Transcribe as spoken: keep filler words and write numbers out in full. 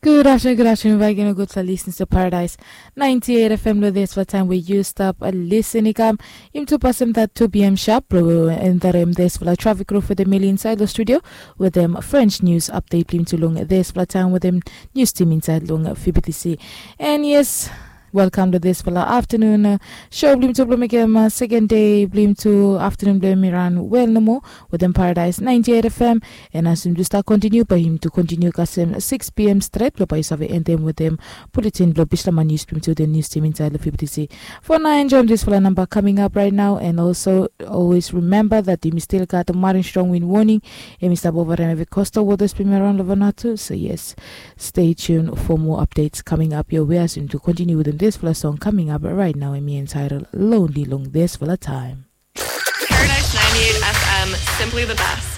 Good afternoon, good afternoon back again, good for listening to Paradise ninety-eight F M lo this for time where you stop a listen ikam. Im tu pasem that two p.m. sharp bro and that im this for the traffic road for the mill inside the studio with them French news update blim to long this for time with them news team inside long F B T C. And yes, welcome to this for the afternoon uh, show blim to blim again uh, second day blim to afternoon blim iran well no more with them Paradise ninety-eight F M. And as him just start continue by him to continue kasem six p.m. straight lo by save end them with them bulletin blo bislama news blim to the news team inside the F B T C. For now, enjoy this for the number coming up right now. And also always remember that you still got the Marin strong wind warning. And Mister Bovaran have a coastal waters blim around Vanuatu. So yes, stay tuned for more updates coming up your way as him to continue with them this for the song coming up right now. And me entitled Lonely Long This for the time. Paradise ninety-eight F M, simply the best.